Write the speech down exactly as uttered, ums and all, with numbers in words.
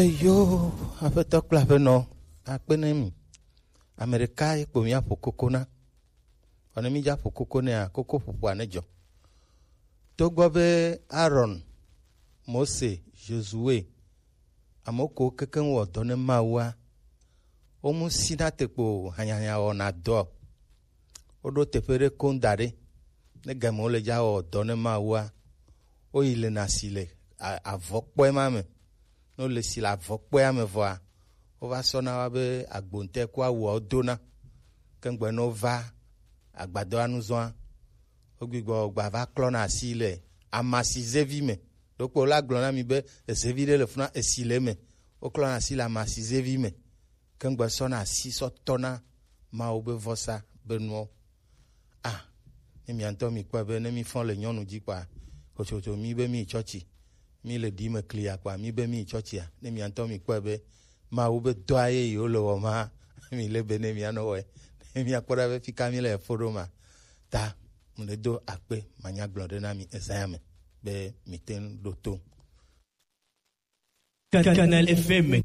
Eyo, aƒetɔ kple aƒenɔ, akpe ne mi. Ame ɖeka ye kpo míaƒo koko na. Vɔ ne mídza ƒo koko nɛa, koko ƒoƒoa ne dzɔ. Togbɔ be Aaron, Mose, Josue, ame kewo kekeŋ wɔ dɔ ne Mawua, womu sina te kpo hanyahanya wɔna dɔ. Woɖo teƒe ɖe koŋ da ɖe. Ne game wole dza wɔ dɔ ne Mawua, woyi lena si le a-, avɔkpɔe ma me. Ne wole si le avɔkpɔea me vɔa, wova sɔna wa be agbonte ku awuawo dona. Ke ŋgbe ne wova agbadɔa nu zɔa, wogbigbɔ gba va klɔna asi le amasi zevi me. Ɖokpo la gblɔ na mi be ezevi ɖe le funa esi le eme. Woklɔna asi le amasi zevi me. Ke ŋgbe sɔna asi sɔ tɔna Mawu be vɔsa be nuwo. Ah, ne mia ŋutɔ mi kpɔe be ne mi fɔ le nyɔnu dzi kpɔa, hotsotso mi be mi yi tsɔtsi, mi le ɖi me kli ya kpɔa, mi be mi yi tsɔtsia, ne mia ŋutɔ mi kpɔe be Mawu be dɔa ye yewo le wɔ ma, mi le be ne mia nɔ wɔe, ne mia kpɔ ɖa be fika mi le efo ɖo ma. Ta, mu le do akpe, manya gblɔ ɖe na mi ezã ya me be mi te ŋu ɖo to. Canal F M.